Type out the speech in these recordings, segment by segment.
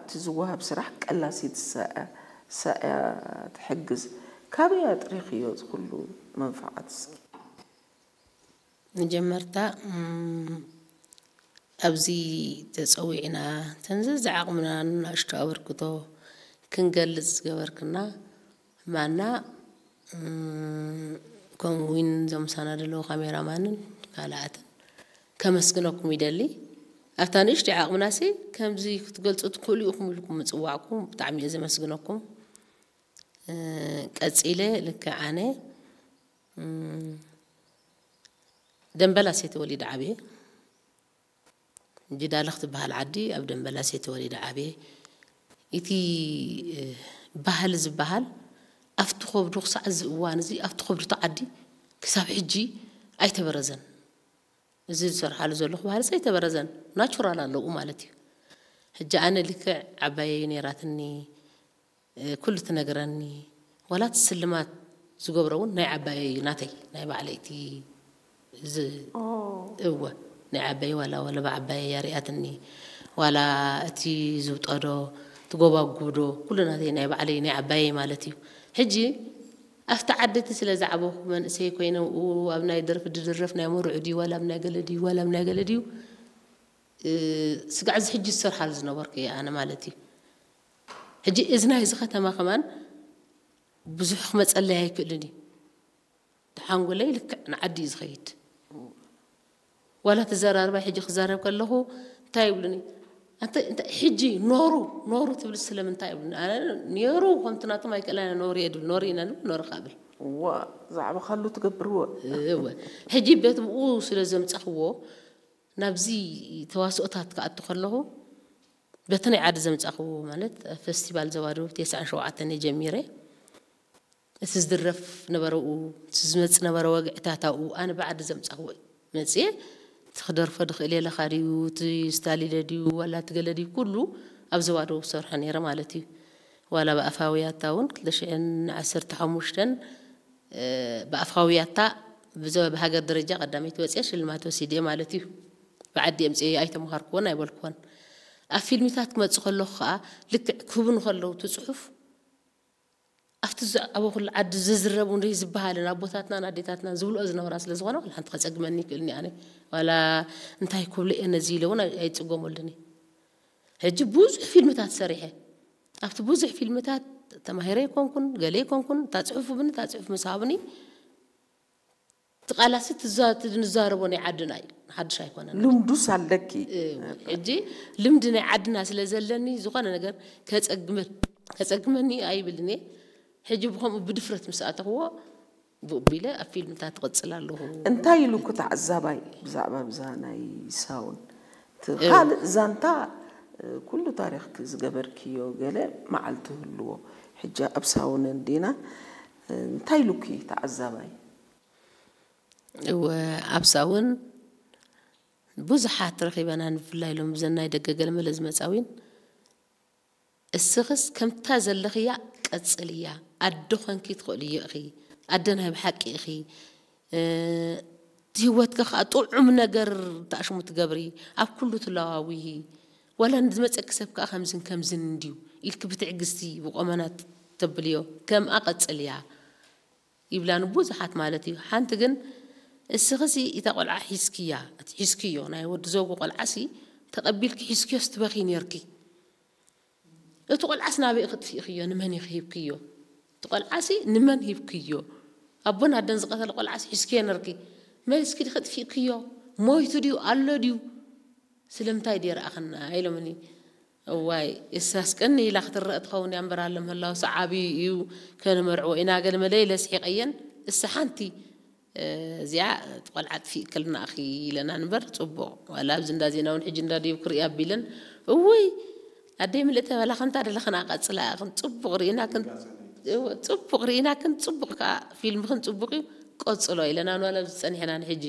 እቲ ዝወሃብ ስራሕ ቀላሲት ዝሰ- ሰእያ ትሕግዝ። ካበይ ኣጥሪኽዮ እዚ ኩሉ መንፍዓት እስኪ? መጀመርታ እም፣ ኣብዚ ተፀዊዕና ተንዘ ዝዓቕምና ንናሽቶ ኣበርክቶ ክንገልፅ ዝገበርክና ማና እም፣ ከምኡ እውን እዞም ምሳና ዘለዉ ካሜራማንን ካልኣትን ከመስግነኩም ይደሊ። ኣብታ ንእሽቶ ዓቕምናሲ ከምዚ ክትገልፁ ትኽእሉ ኢኹም ኢልኩም ምፅዋዕኩም ብጣዕሚ እየ ዘመስግነኩም። እ፣ ቀፂለ ልክዕ ኣነ እም፣ ደንበላስ እየ ተወሊደ ዓብየ። ጅዳለ ክትበሃል ዓዲ ኣብ ደንበላስ እየ ተወሊደ ዓብየ። እቲ እ፣ ባህሊ ዝበሃል ኣብቲ ከብዱ ክሳዕ እዚ እዋን እዚ ኣብቲ ከብዱ እቲ ዓዲ ክሳብ ሕጂ ኣይተበረዘን። እዚ ዝሰርሓሉ ዘለኹ ባህልስ ኣይተበረዘን፣ ናቹራል ኣለዉ ማለት እዩ። ሕጂ ኣነ ልክዕ ዓባየይ ነይራትኒ፣ እ፣ ኩሉ ትነግረኒ፣ ዋላ እቲ ስልማት ዝገብሮ እውን ናይ ዓባየይ እዩ፣ ናተይ ናይ ባዕለይ እቲ ዝ- እወ ናይ ዓባየይ ዋላ ወለባ ዓባየይ ያሪኣትኒ ዋላ እቲ ዝውጠዶ ትጎባጉብዶ ኩሉ ናተይ ናይ ባዕለይ ናይ ዓባየይ ማለት እዩ። ሕጂ ኣብቲ ዓዲ እቲ ስለ ዝዓበኹ መንእሰይ ኮይነ ኣብኡ ኣብ ናይ ደርፊ ድድረፍ ናይ መርዑ ድዩ ዋላ ኣብ ናይ ገለ ድዩ ዋላ ኣብ ናይ ገለ ድዩ እ፣ ስጋዕ እዚ ሕጂ ዝሰርሓሉ ዝነበርኩ እየ ኣነ ማለት እዩ። ሕጂ እዚ ናይ እዚ ከተማ ከማን ብዙሕ ክመፀለይ ኣይክእልን እዩ። ሓንጎለይ ልክዕ ንዓዲ እዩ ዝኸይድ። ዋላ ተዘራርባይ ሕጂ ክዛረብ ከለኹ እንታይ ይብሉኒ? ኣንተ እንታይ ሕጂ ኖሩ ኖሩ ትብል ስለምንታይ ይብሉኒ? ኣነ ነይሩ ከምቲ ናቶም ኣይክእላን እየ ኖሩ እየ ድብል ኖሩ ኢና ንብል ኖሩ ካብ ብል እዋ ዛዕባ ካሉ ትገብርዎ እወ ሕጂ ቤት ብኡ ስለ ዘምጻኽዎ ናብዚ ተዋስኦታት ክኣቱ ከለኹ በቲ ናይ ዓዲ ዘምጻኽዎ ማለት ኣብ ፈስቲቫል ዘባዶ ተስዓን ሸውዓተን እየ ጀሚረ እቲ ዝድረፍ ነበረ ኡ እቲ ዝመጽእ ነበረ ወግዕታት ኣብኡ ኣነ ብዓዲ ዘምጻኽዎ እዩ መጽየ እቲ ክደርፎ ድኽእል የለኻ ድዩ እቲ ስታሊለ ድዩ ዋላ እቲ ገለ ድዩ ኩሉ ኣብ ዘባዶ ክሰርሖ ነይረ ማለት እዩ ዋላ ብኣፋውያታ እውን ክልተ ሽሕን ዓሰርተ ሓሙሽተን ብኣፋውያታ ብዘ- ብሃገር ደረጃ ቀዳመይቲ ወፅየ ሽልማት ወሲደ ማለት እዩ ብዓዲ ኣምፅየ ኣይተምሃርክዎን ኣይበልክዎን ኣብ ፊልሚታት ክመፅእ ከለኹ ከዓ ልክዕ ክህቡኒ ከለዉ እቲ ፅሑፍ ኣብቲ ዝዓበኹሉ ዓዲ ዝዝረቡ እንደ ዝበሃልን ኣቦታትናን ኣዴታትናን ዝብልኦ ዝነበራ ስለ ዝኾነ ዋላ ሓንቲ ከፀግመኒ ይክእልኒ ኣነ ዋላ እንታይ ክብሉ እየ ነዚ ኢለ እውን ኣይ- ኣይፅገመሉን እየ ሕጂ ብዙሕ ፊልምታት ሰሪሐ ኣብቲ ብዙሕ ፊልምታት ተማሂረ ይኮንኩን ገለ ይኮንኩን እታ ፅሑፍ ብኒ እታ ፅሑፍ ምስ ሃብኒ እቲ ቃላሲ ትዛ- እቲ ንዛረቦ ናይ ዓድና እዩ ሓድሽ ኣይኮነን ልምዱስ ኣለኪ ሕጂ ልምዲ ናይ ዓድና ስለ ዘለኒ ዝኾነ ነገር ከፀግመ- ከፀግመኒ ኣይብልን እየ ሕጂ ብከምኡ ብድፍረት ምስ ኣተኽዎ ብኡ ቢለ ኣብ ፊልምታት ትቕፅል ኣለኹ እንታይ ኢሉ እኮ ተዓዛባይ ብዛዕባ ብዛ ናይ ሳውን እቲ ካልእ ዛንታ እ፣ ኩሉ ታሪኽኪ ዝገበርክዮ ገለ መዓልቲ ህልዎ ሕጂ ኣብ ሳውን እንዲና እ፣ እንታይ ኢሉኪ ተዓዛባይ እወ ኣብ ሳውን ብዙሓት ረኺበና ንፍላይ ሎም ብዘናይ ደገ ገለመለ ዝመፃዊን እስኽስ ከምታ ዘለኽያ ቀጽልያ ኣደ ኾንኪ ትኽእልዮ ኢኺ ኣደ ናይ ብሓቂ ኢኺ እ፣ ህይወትኪ ኸዓ ጥዑም ነገር ተኣሽሙ ትገብሪ ኣብ ኩሉ ትለዋውሂ ዋላ ንዝመፀኪ ሰብ ከዓ ከምዝን ከምዝን እንድዩ ኢልኪ ብትዕግስቲ ብቆመና ተብልዮ ከምኣ ቀጽልያ ይብላ ንብዙሓት ማለት እዩ ሓንቲ ግን እስኽሲ እታ ቆልዓ ሒዝክያ እቲ ሒዝክዮ ናይ ወዲ ዘውጉ ቆልዓሲ ተቐቢልኪ ሒዝክዮስ ትበኺ ነርኪ እቲ ቆልዓስ ናበይ ክጥፊእክዮ ንመን ኢኺ ሂብክዮ እቲ ቆልዓሲ ንመን ሂብክዮ ኣቦን ኣደን ዝቐተለ ቆልዓስ ሒዝክዮ ነርኪ መሊስኪ ዲኺ ጥፊእክዮ ሞይቱ ድዩ ኣሎ ድዩ ስለምንታይ ድየ ረኣኽና ኢሎምኒ እዋይ እሳስ ቀኒ ኢላ ክትረእ ትኸውን እያ እምበር ኣሎ ምህላውሲ ዓብዩ እዩ ከነመርዕዎ ኢና ገለ መለ ኢለ ስሒቐየን እሳ ሓንቲ እዚኣ እቲ ቆልዓ ጥፊእክልና እኺ ኢለና ንበር ፅቡቕ ዋላ ኣብዚ እንዳ ዜና እውን ሕጂ እንዳ ድዩ ክርኢ ኣቢለን እውይ ኣደይ ምልእተ በላ ከምታ ደለኽና ቀፅላ ኢኽን ፅቡቕ ርኢና ክን እወ፣ ፅቡቕ ርኢና ክን ፅቡቕ ከዓ ፊልምኽን ፅቡቕ እዩ ቀፅሎ ኢለና ንዋላ ኣብዚ ፀኒሕና ንሕጂ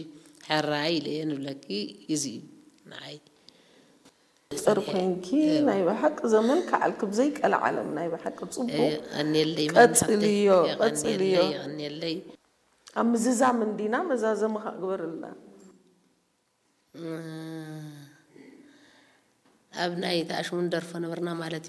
ሕራይ ኢለ እየ ንብለኪ እዚ እዩ ንዓይ ጥር ኮይንኪ ናይ ብሓቂ ዘመን ከዓልኪ ብዘይቀልዓለም ናይ ብሓቂ ፅቡቕ የቐንየለይ ቀፅልዮ ቀፅልዮ የቐንየለይ ኣብ ምዝዛም እንዲና መዛዘሚ ክግበርልና ኣብ ናይ ተኣሽሙን ደርፎ ነበርና ማለት